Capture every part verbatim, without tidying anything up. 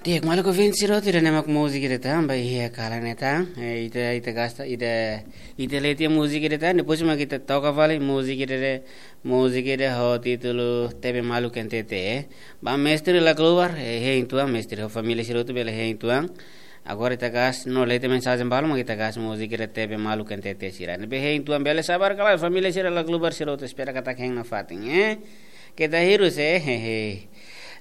Di'ak, maluk ouvinte sira hotu, ida-ne'e mak múzika ida tan, ba iha kalan ne'e tan. Eh, ita, ita gasta, ita, ita lee tiha múzika ida tan, depois mak ita toka fali múzika ida, múzika ida ho títulu T V Maluk N T T, eh. Ba mestre la keluar, eh, hein tuan, mestre ho família sira hotu bele hein tuan. Agora ita gasta, no lee tiha mensajen balu, mak ita gasta múzika ida T V Maluk N T T sira. Ne'ebé hein tuan bele sabar ka lae, família sira la keluar sira hotu, espera katak hein nafatin, eh. Keta hirus, eh, hehe.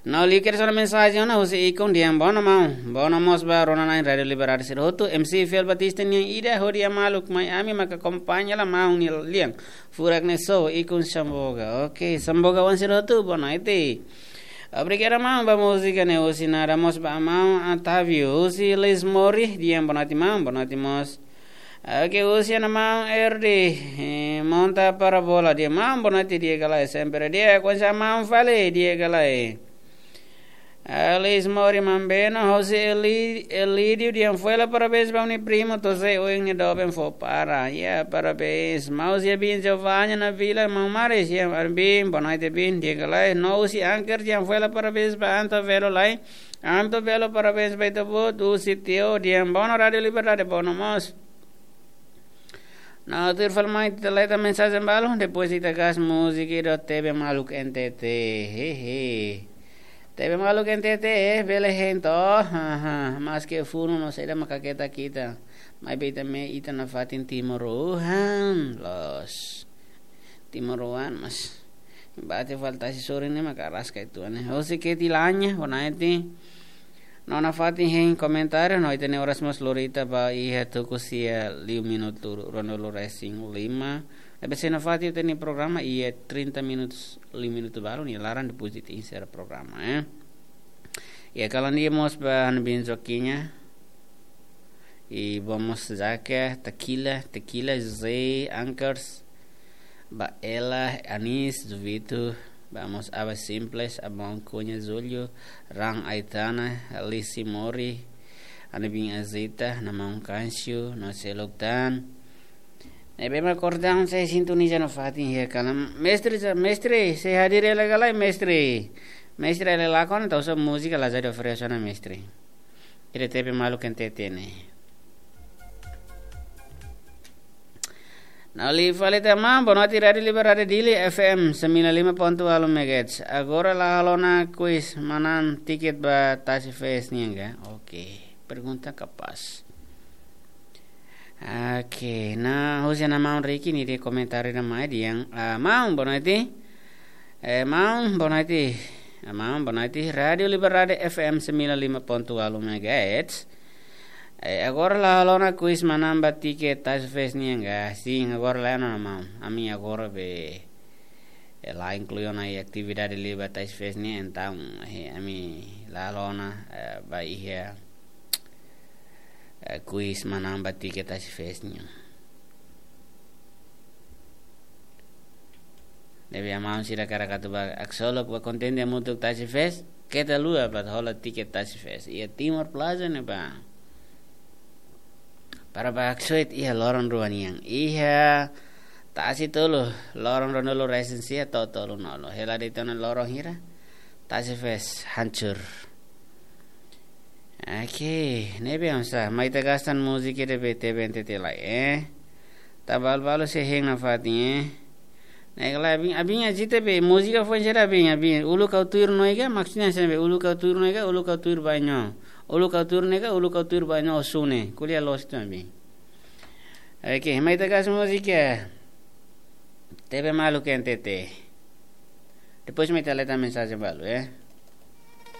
No liu kedas ona mensajen ona husi ikun dehan: "Bono maun, bono mós ba rona-na'in Rádiu Liberdade sira hotu, M C Fiel Batista nian ida hodi a maluk mai ami maka akompaña lai maun nia lian. Furak ne'e só ikun Samboga." Oke, Samboga-oan sira hotu, boa noite. Obrigadu maun ba múzika ne'e, husi nada mós ba maun Otávio, husi Lismori, dehan boa noite maun, boa noite mós. Oke, husi ona maun Erdi, eh, monta parabola, dehan maun boa noite, di'ak ka lae, sempre di'ak, kuandu sa maun fali, di'ak ka lae. Alice Mori Mambeno, husi Eli-, Elídio, dehan foin hela parabéns ba ó-nia primu, to'o sé oin nia doben fó para. Ya, parabéns. Maun Zia bin Giovanni na vila, maun Maris, ya, bin, boa noite bin, di'ak ka lae. No husi Anker, dehan foin hela parabéns ba Anto Velo lai. Anto Velo, parabéns ba ita-boot, husi Teo, dehan bono Rádiu Liberdade, bono mós. No tuir fali mai ita lee tiha mensajen balu, depois ita gasta múzika ida T V Maluk N T T, hehe. T V Maluk N T T, eh, bele hein to'o, haha, maske funu no saida maka keta kita. Maibé ita-nia, ita nafatin timoroan, loos. Timoroan, mas bate falta si sore ne'e maka araska itu, ne'e. Husi Keti Lanya, boa noite. No nafatin hein komentáriu, no ita-nia oras mós lori ita ba iha tuku sia liu minutu ruanulu-resin-lima. Ne'ebé sei nafatin ita-nia programa iha trinta minutos, liu minutu balu nia laran, depois ita enserra programa, eh. Iha kalan ida mós ba ha'u-nia bin Joaquinha. I vamos Zaka, Tequila, Tequila, José, Ankers, ba Ela, Anis, Juvito, vamos Aba Simples, Abang Cunha, Julio, Ran Aitana, Lisi Mori, ha'u-nia bin Azita, no maun Kansiu, no seluk tan. Ne'ebé mak kordang sei sintoniza nafatin iha kalan. Mestre, mestre, sei hadir hela ka lae, mestre. Mestre, hela lakon, tau sa múzika la jadi oferese ona, mestre. Ida T V Maluk N T T ne'e. No liu fali tiha maun, boa noite Rádiu Liberdade Dili F M sembilan lima ponto walu megahertz. Agora la halo ona kuis manán tiket ba Tasi Fest nian ka? Oke, pergunta kapás. Oke, no husi ona maun Ricky nia komentáriu ida mai dehan, ah, maun, boa noite. Eh, maun, boa noite. Eh, maun, boa noite. Rádiu Liberdade F M sembilan lima ponto walu megahertz. Eh, agora la halo ona kuis manán ba tiket Tasi Fest nian ka? Sin, agora la halo ona maun. Ami agora be, eh, la inklui ona iha atividade liu ba Tasi Fest nian, entaun, eh, ami la halo ona, eh, ba iha, eh, kuis manán ba tiket Tasi Fest nian. Ne'ebé maun sira hakarak atu ba Aksolok ba kontente hamutuk Tasi Fest, keta haluha ba hola tiket Tasi Fest. Iha Timor Plaza ne'ebá. Para ba haksoit iha loron rua nian. Iha Tasi Tolu, loron ruanulu-resin-sia to'o tolunulu. Hela de'it ona loron hira, Tasi Fest hancur. Oke, ne'ebé oinsá, mai ita gasta múzika ida be T V N T T lai, eh. Ita balu-balu sei hein nafatin, eh. Ne'e ka lae, abin, abin Azita be, múzika foin sira abin, abin. Uluk ha'u tuir no iha ka, maksudnya sira be, uluk ha'u tuir no iha ka, uluk ha'u tuir ba-nho. Uluk ha'u tuir no iha ka, uluk ha'u tuir ba-nho, sune. Ko'alia loos ida abin. Oke, mai ita gasta múzika. T V Maluk N T T. Depois mai ita lee tiha mensajen balu, eh.